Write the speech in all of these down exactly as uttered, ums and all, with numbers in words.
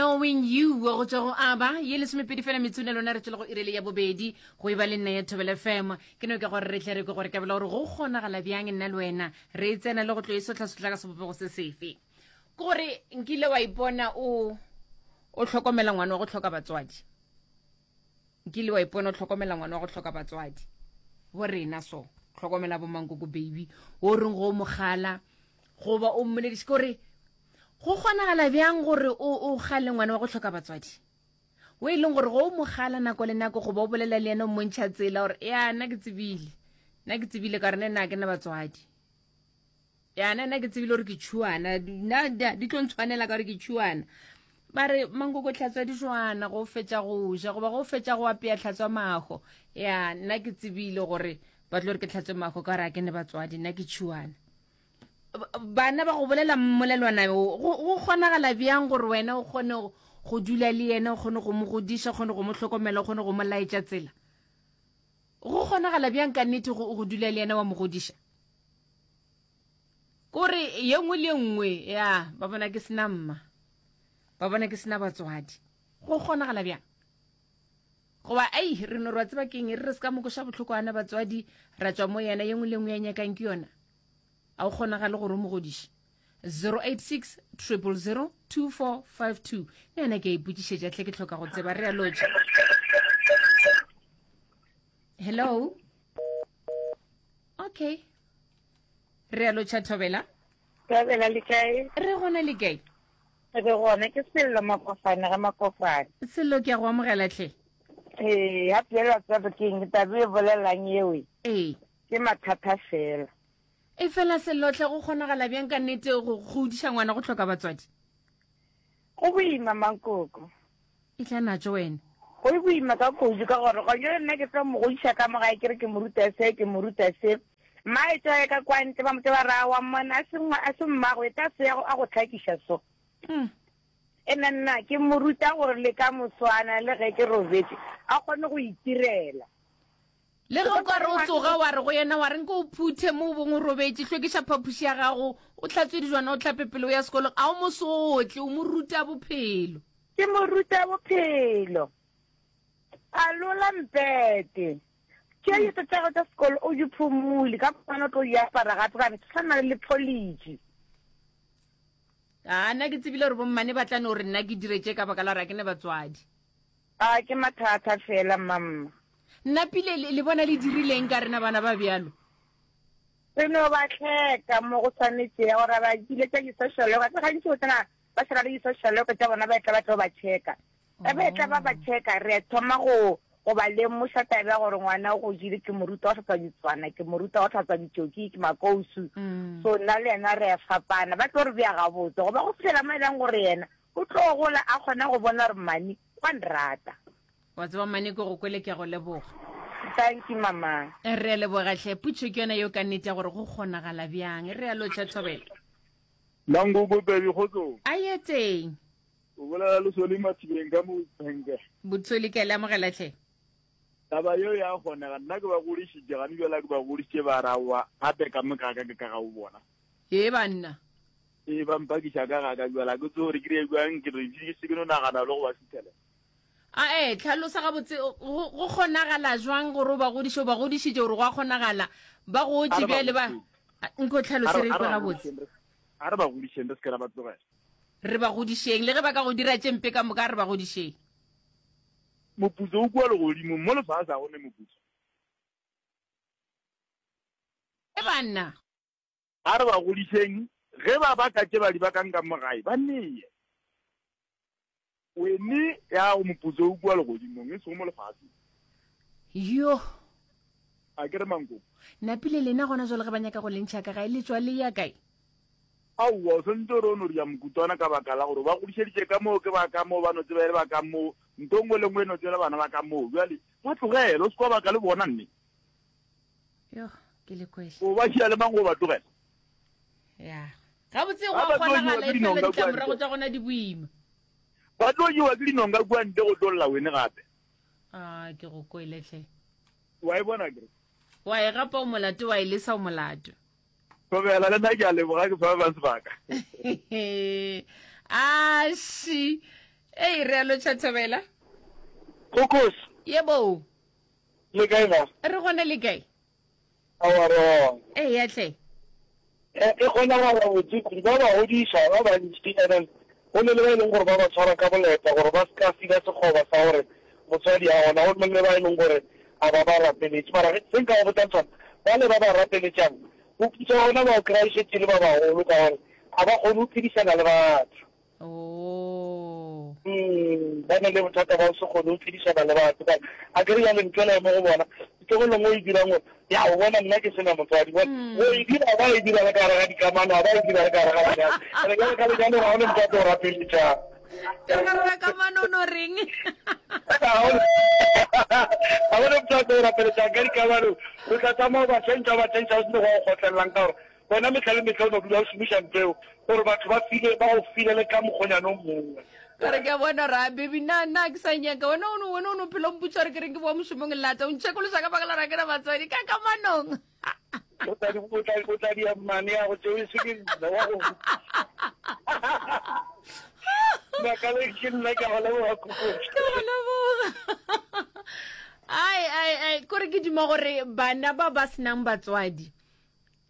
Knowing You go tšwa go Aba ye lesomepedi fela metsone lona re tšwele go irele ya bobedi go e ba le nna ya Thobela F M. Ke no ke gore re tle re kwe gore kabela gore go kgonagala bjang nna le wena re e tsena le go tlo e sohlasotla ka sebopego se sefe. Ke gore nkile wa ipona o o hlokomela ngwana wa go hloka batswadi, nkile wa ipona o hlokomela ngwana wa go hloka batswadi bo rena so hlokomela bo mankoko baby o reng go mogala goba o mmolediše ke gore go kgonagala bjang gore o o gale ngwana wa go hloka batswadi o e leng gore go o mogala nako le nako goba o bolela le yena o mmontšha tsela gore ya nna ke tsebile, nna ke tsebile ka gore nna ke na batswadi, ya nna nna ke tsebile gore ke tšhuana, nna di tlo ntshwanela ka gore ke tšhuana. Ba re mankoko tlhatswa dijwana go fetša go ja goba go fetša go apea tlhatswa mago, ya nna ke tsebile gore ba tlo re ke tlhatswe mago ka gore a ke ne batswadi, nna ke tšhuana. Bana ba go bolela mmolelwana o go kgonagala bjang gore wena o kgone go dula le yena, o kgone go mo godiša, o kgone go mo hlokomela, o kgone go mo laetša tsela? Go kgonagala bjang ka nnete go dula le yena wa mo godiša? Kore ye nngwe le ye nngwe ya ba bona ke sena mma, ba bona ke sena batswadi, go kgonagala bjang? Goba ai re no re wa tseba keng, re re se ka mokoša bohloko ana batswadi ra tšwa mo yena, ye nngwe le nngwe ya nyakang ke yona, a o kgonagale gore o mo godiše? zero eight six triple zero two four five two le yona ke a ipotšišetša tle ke hloka go tseba. Re a lotša. Hello, okay, re a lotšha Thobela. Thobela, le kae? Re gona, le kae? Re gona, ke Sello Makofane ga Makofane. Sello, ke a go amogela tle. Ee, ya pela tsebe ke taba e bolelang eo. Ee. Ke mathata fela. E fela Sellotlhe, go kgonagala bjang ka nnete go godiša ngwana go hloka batswadi? Go boima, mankoko. E tla natso wena. Go boima ka kudu ka gore go jale nna ke tlo mo godiša ka mo gae, ke re ke mo ruta se, ke mo ruta se. Mma e tswa ka kwa ntle ba mo ba ra wa mmona a se a se mmago e tla se a go tlhakiša so. Mm. E nna nna ke mo ruta gore le ka moswana le ge ke robetse a kgone go itirela. Le ge o ka re o tsoga wa re go yena wa re nke o phuthe mo o bong o robetše, hlwekiša phapoši ya gago, o hlatswe dijwana, o hlape pele o ya sekolong, a o mo sotle, o mo ruta bophelo. Ke mo ruta bophelo. A lola mpete. Tše dilo tša tša sekolo o di phumule ka moswana o tlo di apara gape ka tshwana le pholiji. A nna ke tsebile gore bommane ba tla no re nna ke dire tše ka baka la gore a ke ne batswadi. A ke mathata fela, mamma. Nna pile le bona le dirileng ka rena bana ba bjalo? Re no ba tlheka mo go tshwanetse ya gore ba kile tša di-social worker tse gantši o tsena ba sena le di-social worker tša bona ba etla ba tlo ba checka. Ba ba etla ba ba checka, re thoma go go ba lemoša taba ya gore ngwana o godile, ke mo ruta go hlatswa ditswana, ke mo ruta go hlatswa ditšoki, ke makousu. So nna le yena re a fapana, ba tlo re bea gabotse goba go fitlhela mo e leng gore yena o tlo gola a kgona go bona gore mane wa nrata. Wa tseba mane ke go kwele, ke a go leboga. Thank you, mama. Re a leboga hle. Putšo ke yona yeo ka nnete ya gore go kgonagala bjang. Re a lotšha Thobela. Mankoko baby, kgotsong. A ye teng. O bolela le Soli Mathibeng ka mo Phenke. Botsoli, ke a le amogela hle. Taba yeo ya kgonega, nna ke ba godišitše gane bjala ke ba godišitše ba rawa gape ka mo ka ka ke ka ga o bona. Ee banna. Ee, ba mpakiša ka ga ka bjala ke tse gore ke dire bjang, ke re ke se ke no nagana le go ba suthela. A e tlhalosa gabotse go kgonagala jwang gore o ba godiše, o ba godišitše gore go a kgonagala ba gotše bjale ba nko tlhalose re kwe gabotse. A re ba godišeng, re se ke ra ba tlogela. Re ba godišeng le ge ba ka go dira tše mpe ka moka, a re ba godišeng. Moputso o kua legodimong, mo lefase ga go ne moputso. E banna. A re ba godišeng, ge ba baka tše ba di bakang ka mo gae, ba neye. Wene ya go moputso o kua legodimong, e sego mo lefaseng. Yo. A ke re mankoko. Napile lena gona jwale ge ba nyaka go le ntšha ka gae, le tšwa le ya kae? Aowa, o swanetše gore o no ria mokutwana ka baka la gore ba godišeditše ka moo, ke ba ka moo, ba no tseba e le ba ka moo, ntho nngwe le nngwe e no tseba bana ba ka moo. Bjale ba tlogele, o se kwa baka le bona nne. Yo, ke le kwele. O ba šia le mang go ba tlogela? Ya. Gabotse go a kgonagala e fela ditlamorago tša gona di boima. Ba tlo jewa ke dinonga kua ntle go tlo lla wene gape. A ke go kwele hle. Wa e bona kere? Wa e gapa o molato, wa e lesa o molato. Thobela, le nna ke a leboga ke fa ba sebaka. Aši. Ei, re a lotšha Thobela. Kokos. Yebo. Le kae ba? Re gona le kae? Aowa re gona. Eya hle. E, e kgonagala botse kudu. Ba ba godiša ba bantši and then go ne le ba e leng gore ba ba tshwara ka boleta gore ba se ka fila sekgoba sa gore motswadi a gona. Go ne le ba e leng gore a ba ba rapeletše. Mara ge se nka go botšang sona, bale ba ba rapeletšang moputso wa bona ba o kry-a e šetše e le ba bagolo ka gore ga ba kgone go phedišana le batho. Oh. Mm, ba na le bothata ba go se kgone go phedišana le batho. Ka a ke re jale ntho ela e mo go bona, tlogelo nngwe e dirang gore ya o bona nna ke sena motswadi. Bona Mm. go e dira ba e dira le ka gare ga dikamano, ga ba e dira le ka gare ga lenyalo. Ene jale ka lenyalo ga go ne motho a tlo go rapeletšang. Ka gare ga kamano o no reng? Ga go ne motho a tlo go rapeletšang ka dikamano. O tla tsamaya o ba tšhentšha o ba tšhentšha o se ne go a go kgotlelelang ka gore wena mehla le mehla o no dula o šomiša ntho eo gore batho ba file ba go filele ka mokgonyana o mongwe. Ka re ke a bona gore a baby na nna ke sa nyaka wena o no wena o no phela o mpotša gore ke reng ke boa mošomong lata o ntšhekološa ka baka la gore ga ke na batswadi ka kamanong. O tla di o tla o tla dia mmane ya go tšeo e se ke nna wa go Makale ke nna ke a go leboga Kokotšo. Ke go leboga. Ai ai ai kore ke duma gore bana ba ba senang batswadi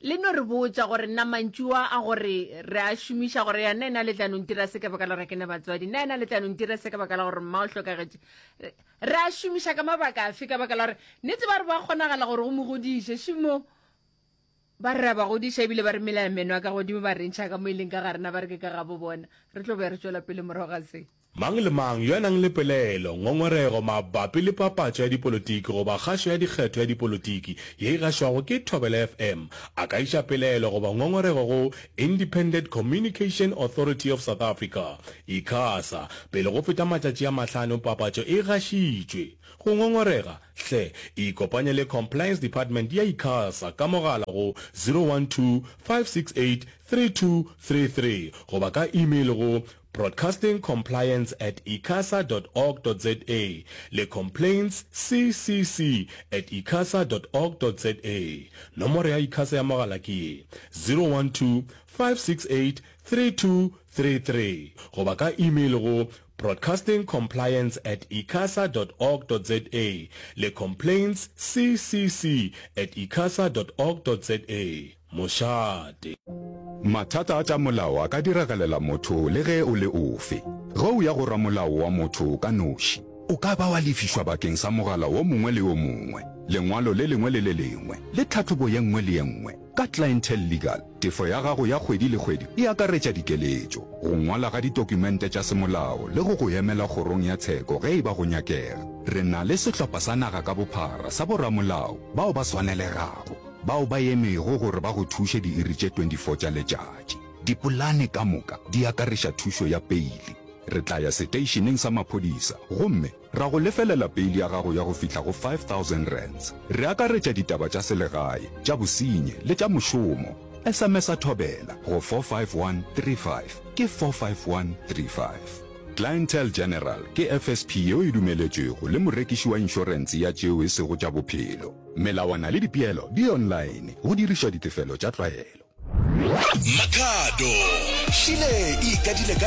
le no re botša gore nna mantšu a a gore re a šomiša gore ya nna ena le tla no ntira se ka baka la gore ke na batswadi nna ena le tla no ntira se ka baka la gore mma o hlokagetše re a šomiša ka mabaka afe ka baka la gore nnete ba re ba kgonagala gore go mo godiše šimo ba re ra ba godiša ebile ba re mela meno a ka godimo ba re ntšha ka mo e leng ka ga rena ba re ke ka gabo bona re tlo be re tšwela pele morago ga se. Mang le mang yo a nang le pelaelo, ngongorego mabapi le papatšo ya dipolotiki goba kgašo ya dikgetho ya dipolotiki ye e gašwago ke Thobela F M a ka iša pelaelo goba ngongorego go Independent Communication Authority of South Africa, ICASA, pele go feta matšatši a mahlano papatšo e gašitšwe. Go ngongorega, hle ikopanye le Compliance Department ya ICASA ka mogala go zero one two, five six eight, three two three three goba ka email go broadcasting compliance at icasa dot org dot za le complaints c c c at icasa dot org dot za. Nomoro ya ICASA ya mogala ke ye, zero one two, five six eight, three two three three goba ka email go broadcasting compliance at icasa dot org dot za le complaints c c c at icasa dot org dot za. Mošate. Mathata a tša molao a ka diragalela motho le ge o le ofe. Ge o ya go ramolao wa motho ka noši, o ka ba wa lefišwa bakeng sa mogala wo mongwe le yo mongwe, lengwalo le lengwe le le lengwe, le tlhahlobo ye nngwe le ye nngwe. Ka Clientele Legal, tefo ya gago ya kgwedi le kgwedi e akaretša dikeletšo, go ngwala ga ditokumente tša semolao le go go emela kgorong ya tsheko ge e ba go nyakega. Re na le sehlopha sa naga ka bophara sa boramolao bao ba swanelegago, bao ba emego gore ba go thuše diiri tše twenty four tša letšatši. Dipolane ka moka di akareša thušo ya peili. Re tla ya seteišeneng sa maphodisa gomme ra go lefelela peili ya gago ya go fihla go five thousand rands. Re akaretša ditaba tša selegae, tša bosenyi le tša mošomo. S M S-a Thobela go four five one three five ke four five one three five. Clientele General ke F S P yeo e dumeletšwego le morekiši wa inšorense ya tšeo e sego tša bophelo. Melawana le dipeelo di online go dirišwa ditefelo tša tlwaelo. Makhado, Šile e ikadile ka